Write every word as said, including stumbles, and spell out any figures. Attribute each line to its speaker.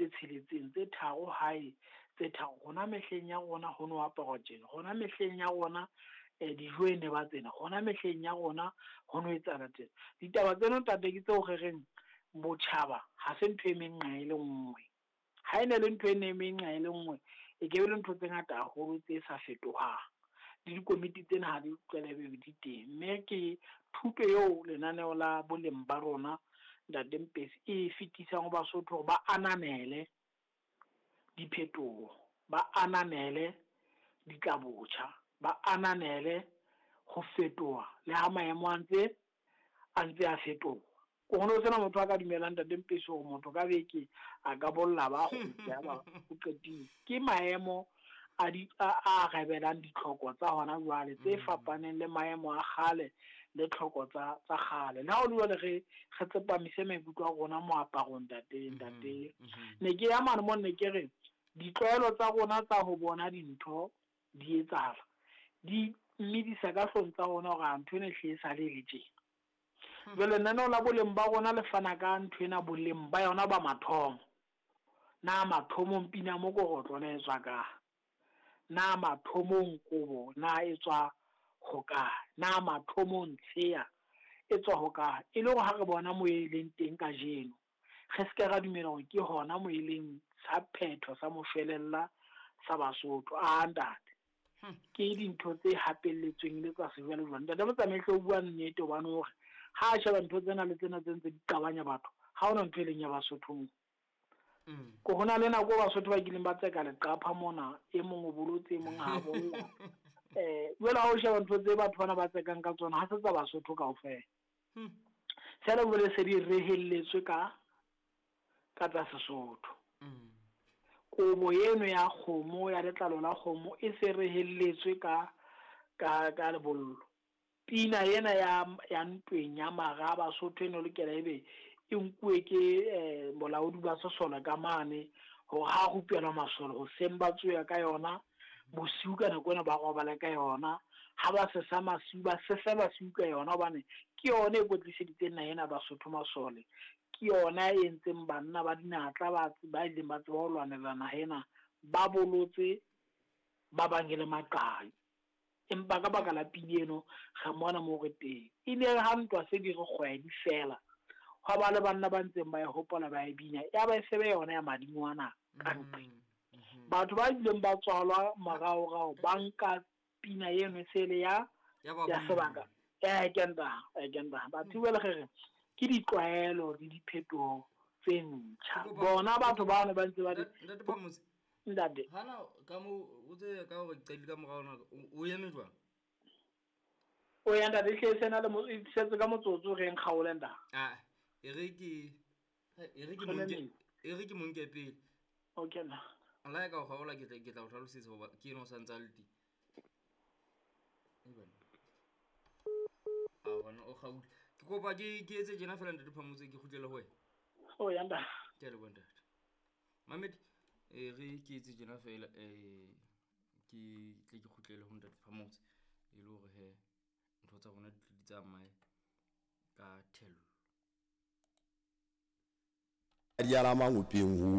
Speaker 1: tse tsheletseng tse tharo hae tse tharo. Rona mehleng ya rona ho no aparwa tjena, rona mehleng ya rona eh dijo e ne ba tsena, rona mehleng ya rona ho no etsahala tjena. Ditaba tseno ntate ke tseo re reng botjhaba ha se ntho e menqa e le nngwe. Ha e ne le ntho e ne menqa e le nngwe, e ke be le ntho tse ngata haholo tse sa fetohang. Le dikomiti tsena ha di utlwele di teng. Mme ke thuto eo lenaneo la boleng ba rona Ntate Mpesi e fetisang ho Basotho hore ba ananele diphetoho, ba ananele ditlabotjha, ba ananele ho fetoha le ha maemo a ntse a ntse a fetoha. Ko ho no sena motho a ka dumelang Ntate Mpesi hore motho ka beke a ka bolla ba kgutla ya ba o qetile. Ke maemo a di a a rebelang ditlhoko tsa hona jwale tse fapaneng le maemo a kgale le tlhoko tsa tsa kgale. Le ha ho le jwale re re tsepamise maikutlo a rona moaparong ntate ntate. Ne ke ya mane mo ne ke re ditlwaelo tsa rona tsa ho bona dintho di etsahala di mmedisa ka hlong tsa rona hore a ntho ena ehlile e sale e le tjena. Jwale lenaneo la boleng ba rona le fana ka ntho ena boleng ba yona ba mathomo. Na mathomong pina mokorotlo ne e tswa kae? Na mathomong kobo na e tswa hokae? Na mathomong tsheya e tswa hokae? E le hore ha re bona mo e leng teng kajeno, re se ke ra dumela hore ke hona mo e leng sa phetho sa moshwelella sa Basotho. A ntate, ke dintho tse hapelletsweng le tsa sejwalejwale. Ntate Motsamaisi o bua nnete hobane hore ha a sheba ntho tsena le tsena tse ntse di qabanya batho, ha hona ntho e leng ya Basotho moo. Ko hona le nako Basotho ba kileng ba tseka leqapha mona, e mong o bolotse, e mong ha bolla. Eh jwale ha o sheba ntho tse batho bana ba tsekang ka tsona, ha se tsa Basotho kaofela. Feela jwale se di rehelletswe ka ka tsa Sesotho. Kobo eno ya kgomo ya letlalo la kgomo e se rehelletswe ka ka ka lebollo. Pina ena ya ya ntweng ya mara a Basotho eno lokela ebe e nkuwe ke eh bolaodi ba sesole ka mane hore ha rupelwa masole hoseng ba tsoya ka yona, bosiu ka nako ena ba robala ka yona, ha ba sesa masiu ba sesa basiu ka yona, hobane ke yona e kwetliseditseng naha ena Basotho masole. Ke yona e entseng banna ba dinatla ba ba ileng ba tseba ho lwanela naha ena, ba bolotse ba bang e le maqai. Empa ka baka la pina eno re mona moo re teng. E ne re ha ntwa se di re kgwedi fela, hwa ba le banna ba ntseng ba e hopola ba e bina, ya ba e se be yona ya madingwana ka nqe. Batho ba ileng ba tswalwa moraorao ba nka pina eno e se le ya ya sebaka. Eh ke nta, eh ke nta. Batho ba le re ke ditlwaelo le diphetoho tse ntjha. Bona batho bano ba ntse ba di
Speaker 2: Ntate Phamotse.
Speaker 1: Ntate.
Speaker 2: Hana ka mo o tse ka hore qedile ka morao nako o eme jwang?
Speaker 1: O ya ntate hle sena le mo setse ka motsotso re nkgaole ntate.
Speaker 2: Ah, e re ke e re ke monke e re ke monke pele.
Speaker 1: Okay na.
Speaker 2: La ka o kgaola ke tla ke tla o hlalosetsa hoba ke eno sa ntsa le teng. E bana. A bona o kgaole. Ke kopa ke ke etse tjena fela Ntate Phamotse ke kgutlele ho wena.
Speaker 1: O ya ntate.
Speaker 2: Ke a leboha ntate. Mamedi e re ke etse tjena fela eh ke tle ke kgutlele ho Ntate Phamotse e le hore he ntho tsa rona di tle di tsamaye ka thello.
Speaker 3: Di ala mangopeng ho